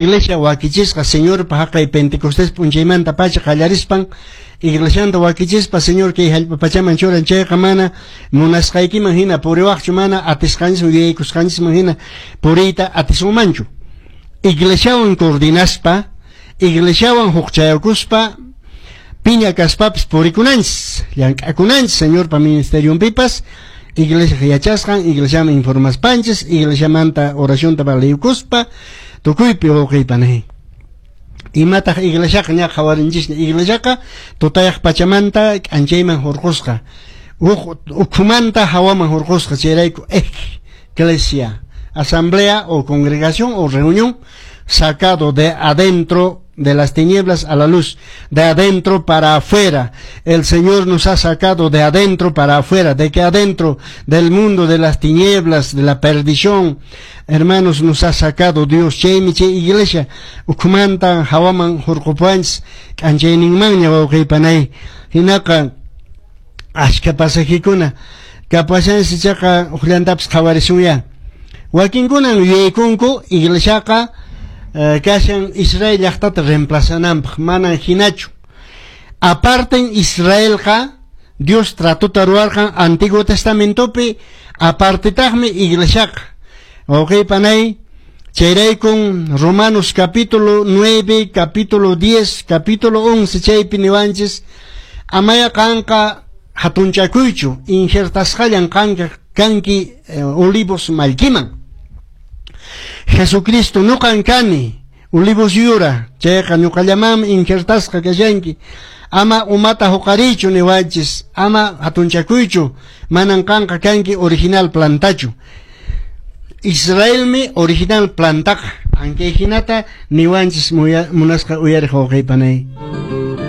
Iglesia wakichisqa Señorpa haqay Pentecostés p'unchaymanta pacha qallarispan iglesianta wakichispa Señor kay hallp'a pachaman churan. Chayqa mana munasqaykiman hina puriwaqchu, mana atisqanchisman yuyaykusqanchisman hina puriyta atisunmanchu. Iglesiawan coordinaspa, iglesiawan hukchayakuspa, piña kaspapis purikunanchis, llank'akunanchis Señorpa ministerionpipas, iglesia yachasqan, iglesiaman informaspanchis, iglesiamanta oracionta valiykuspa, tukuypi wawqiypanay. Imataq iglesiaqa ña qhawarinchisña, iglesiaqa tutayaq pachamanta k'anchayman hurqusqa, ukhumanta hawaman hurqusqa, chayrayku eclesia, asamblea o congregación o reunión sacado de adentro de las tinieblas a la luz, de adentro para afuera. El Señor nos ha sacado de adentro para afuera, de que adentro del mundo de las tinieblas, de la perdición, hermanos, nos ha sacado Dios. Chaymi chay iglesia ukhumanta hawaman hurqupuwanchis k'anchayninmanña, wawqiypanay. Hinaqa achka pasajikuna kapashansi, chaqa uqllantapis qhawarisunya. Wakinkunan yuyaykunku iglesiaqa kashan Israel llaqtata reemplazananpaq, manan hinachu. Aparten Israelqa, Dios tratota ruwarqan Antiguo Testamentopi, apartetaqmi iglesiaqa. Wawqiypanay, chayraykun Romanos capítulo 9, capítulo 10, capítulo 11 chaypi niwanchis: amaya qanqa hatunchakuychu, injertasqallan qanqa kanki olivos mallkiman. Jesucristo ñuqan kani olivos yura, chayqa ñuqallamanmi injertasqa kashanki. Ama umata huqariychu niwanchis, ama hatunchakuychu, manan qanqa kanki original plantachu. Israelmi original plantaqa. Ankay hinata niwanchis, munasqa uyariq wawqiypanay.